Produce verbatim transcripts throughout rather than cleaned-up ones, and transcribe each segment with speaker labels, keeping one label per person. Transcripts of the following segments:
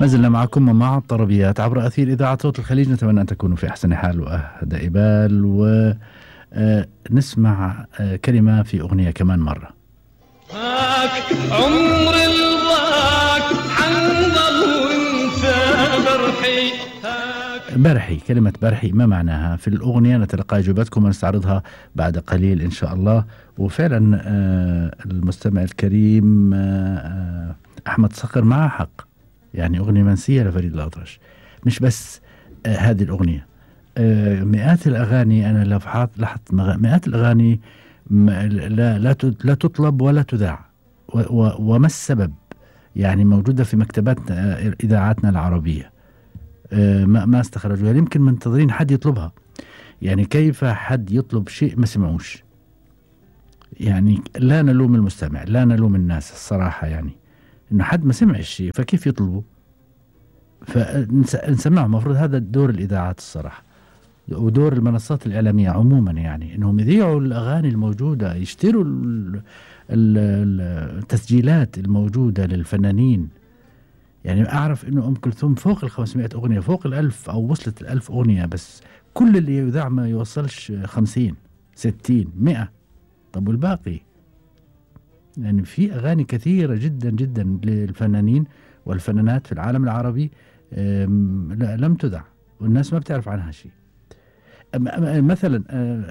Speaker 1: ما زلنا معكم ومع الطربيات عبر أثير إذاعة صوت الخليج. نتمنى أن تكونوا في أحسن حال وأهدى بال، ونسمع كلمة في أغنية كمان مرة.
Speaker 2: عمر الضاك حنظل وانت برحي.
Speaker 1: برحي، كلمة برحي ما معناها في الأغنية؟ نتلقى إجابتكم ونستعرضها بعد قليل إن شاء الله. وفعلا المستمع الكريم أحمد صقر معه حق، يعني أغنية منسية لفريد الأطرش. مش بس هذه الأغنية، مئات الأغاني أنا لاحظت مئات الأغاني لا لا لا تطلب ولا تذاع، وما السبب؟ يعني موجودة في مكتبات إذاعاتنا العربية، ما ما استخرجوها. يمكن منتظرين حد يطلبها. يعني كيف حد يطلب شيء ما سمعوش؟ يعني لا نلوم المستمع، لا نلوم الناس الصراحة، يعني إنه حد ما سمع الشيء فكيف يطلبه؟ فنسمعه. مفروض هذا دور الإذاعات الصراحة، ودور المنصات الإعلامية عموما، يعني إنهم يذيعوا الأغاني الموجودة، يشتروا التسجيلات الموجودة للفنانين. يعني أعرف إنه أم كلثوم فوق الخمسمائة أغنية، فوق الألف أو وصلت الألف أغنية، بس كل اللي يذاع ما يوصلش خمسين ستين مئة. طب والباقي؟ يعني في أغاني كثيرة جدا جدا للفنانين والفنانات في العالم العربي لم تذاع والناس ما بتعرف عنها شيء. مثلا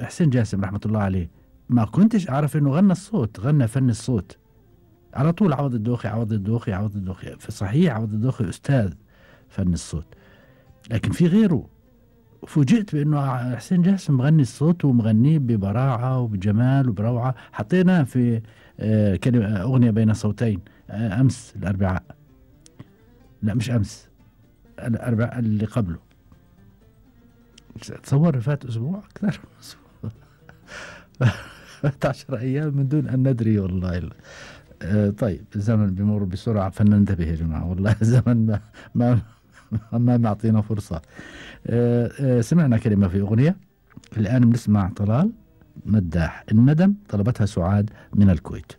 Speaker 1: حسين جاسم رحمة الله عليه، ما كنتش أعرف إنه غنى الصوت، غنى فن الصوت على طول. عوض الدوخي عوض الدوخي عوض الدوخي فصحيح عوض الدوخي أستاذ فن الصوت، لكن في غيره. فوجئت بأنه حسين جاسم مغني الصوت ومغنيه ببراعة وبجمال وبروعة. حطينا في كلمة أغنية بين صوتين أمس الأربعاء، لا مش أمس، الأربعاء اللي قبله. تصور فات أسبوع أكثر فات عشر أيام من دون أن ندري والله. آه طيب الزمن بيمر بسرعة فلننتبه يا جماعة، والله الزمن ما ما ما معطينا فرصة. آه آه سمعنا كلمة في أغنية، الآن بنسمع طلال مداح الندم، طلبتها سعاد من الكويت.